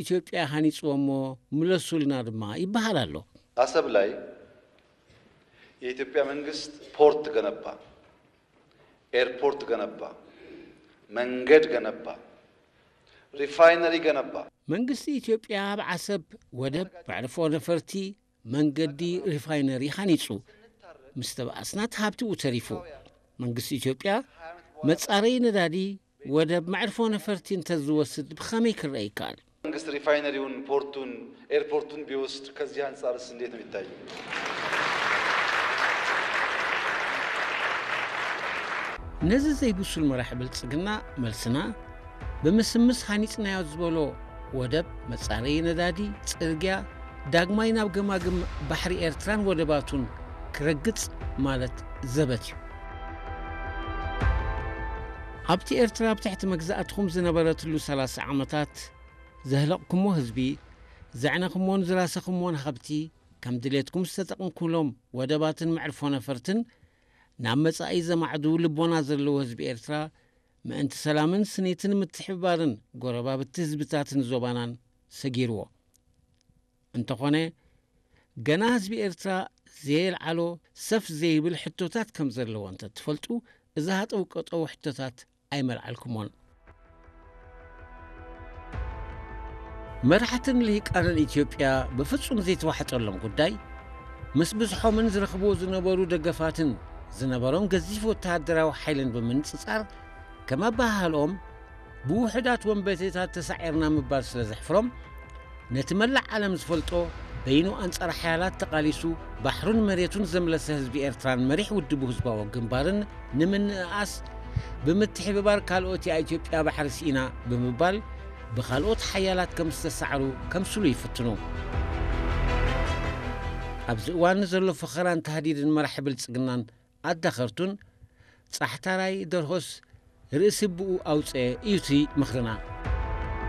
ኢትዮጵያ ሃኒጽዎ እሞ ምለሱልና ድማ ይበሃል ኣሎ። አሰብ ላይ የኢትዮጵያ መንግስት ፖርት ገነባ፣ ኤርፖርት ገነባ፣ መንገድ ገነባ፣ ሪፋይነሪ ገነባ። መንግስቲ ኢትዮጵያ ኣብ ዓሰብ ወደብ፣ መዕርፎ ነፈርቲ፣ መንገዲ፣ ሪፋይነሪ ሃኒጹ። ምስ ተባኣስና እቲ ሃብቲ ብኡ ተሪፉ። መንግስቲ ኢትዮጵያ መጻረዪ ነዳዲ፣ ወደብ፣ መዕርፎ ነፈርቲ እንተዝወስድ ብኸመይ ክረአ ይከኣል? መንግስት ሪፋይነሪውን ፖርቱን ኤርፖርቱን ቢወስድ ከዚህ አንጻርስ እንዴት ነው የሚታየው? ነዚ ዘይብሱል መራሒ ብልጽግና መልስና ብምስምስ ሃኒጽናዮ ዝበሎ ወደብ፣ መጻረዪ ነዳዲ፣ ጽርግያ፣ ዳግማይ ናብ ገማግም ባሕሪ ኤርትራን ወደባቱን ክረግጽ ማለት ዘበት እዩ። ኣብቲ ኤርትራ ኣብ ትሕቲ መግዛእትኹም ዝነበረትሉ ሰላሳ ዓመታት ዘህለቕኩሞ ህዝቢ፣ ዘዕነኹሞን ዝራሰኹሞን ሃብቲ፣ ከም ድሌትኩም ዝተጠቕምኩሎም ወደባትን መዕርፎ ነፈርትን፣ ናብ መጻኢ ዘማዕዱ ልቦና ዘለዎ ህዝቢ ኤርትራ፣ ምእንቲ ሰላምን ስኒትን ምትሕብባርን ጎረባብቲ ህዝብታትን ዞባናን ሰጊርዎ። እንተኾነ፣ ገና ህዝቢ ኤርትራ ዘየልዓሎ ሰፍ ዘይብል ሕቶታት ከም ዘለዎ እንተትፈልጡ፣ እዚ ሃጠው ቀጠው ሕቶታት ኣይመልዓልኩሞን። መራሕትን ልሂቃንን ኢትዮጵያ ብፍጹም ዘይተዋሕጠሎም ጉዳይ፣ ምስ ብዝሖምን ዝረኽብዎ ዝነበሩ ደገፋትን ዝነበሮም ገዚፍ ወተሃደራዊ ሓይልን ብምንጽጻር፣ ከም ኣበሃህልኦም ብውሑዳት ወንበዴታት ተሳዒርና ምባል ስለ ዘሕፍሮም፣ ነቲ መላእ ዓለም ዝፈልጦ በይኑ ኣንጻር ሓያላት ተቓሊሱ ባሕሩን መሬቱን ዘምለሰ ህዝቢ ኤርትራን መሪሕ ውድቡ ህዝባዊ ግንባርን ንምንእኣስ ብምትሕብባር ካልኦት እያ ኢትዮጵያ ባሕሪ ስኢና ብምባል ብኻልኦት ሓያላት ከም ዝተሳዕሩ ከምስሉ ይፍትኑ። ኣብዚ እዋን ዘሎ ፈኸራን ታህዲድን መራሒ ብልጽግናን ኣዳኸርቱን ጻሕታራይ ደርሆስ ርእሲ ብኡ ኣውጽአ እዩ እቲ ምኽርና።